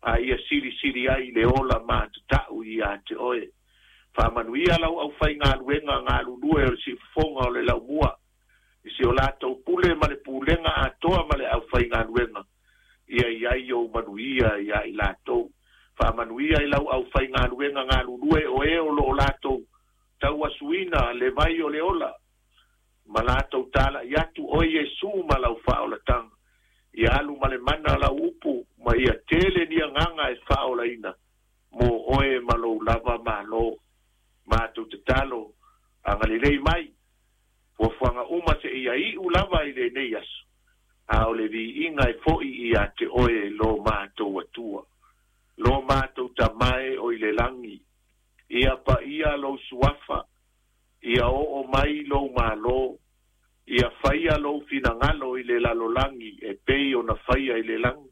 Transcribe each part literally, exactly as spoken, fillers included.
A ia silisili ai i le ola matatau ia te oe. Faamanuia lau aufaigaluega galulue o le siufofoga o le laumua i si o latou pule ma le pulega atoa ma le aufaigaluega, ia i ai ou manuia ia i latou. Faamanuia i lau aufaigaluega galulue o e o lo o latou tauasuina le vai o le ola ma latou tala'i atu oe Iesu ma lau faaolataga. Ia alu ma le mana lau upu ma ia tele ni agaga e faaolaina mo oe ma lou lava malo. Matou tatalo, agalelei mai fuafuaga uma seia iu lava i lenei aso, a o le viiga e fo'i ia te oe lo matou Atua, lo matou Tama e o i le lagi. Ia paia lou suafa, ia oo mai lou malo, ia faia lou finagalo i le lalolagi e pei ona faia i le lagi.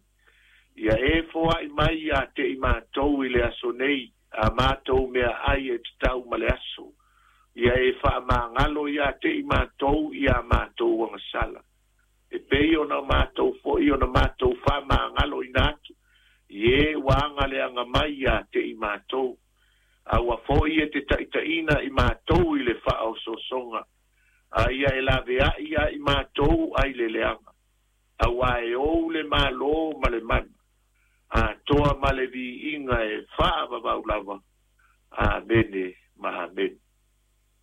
Ia e foai mai ia te i matou i le aso nei a matou meaai e tatau ma le aso. Ia e faamagalo ia te i matou ia matou agasala, e pei ona matou foi ona matou faamagaloina atu i e ua agaleaga mai ia te i matou. A ua foi e te taitaiina i matou i le faaosoosoga, a ia e laveai ia i matou ai le leaga, auā e ou le malo ma le mana atoa ma le viiga e faavavau lava. Amene ma amene.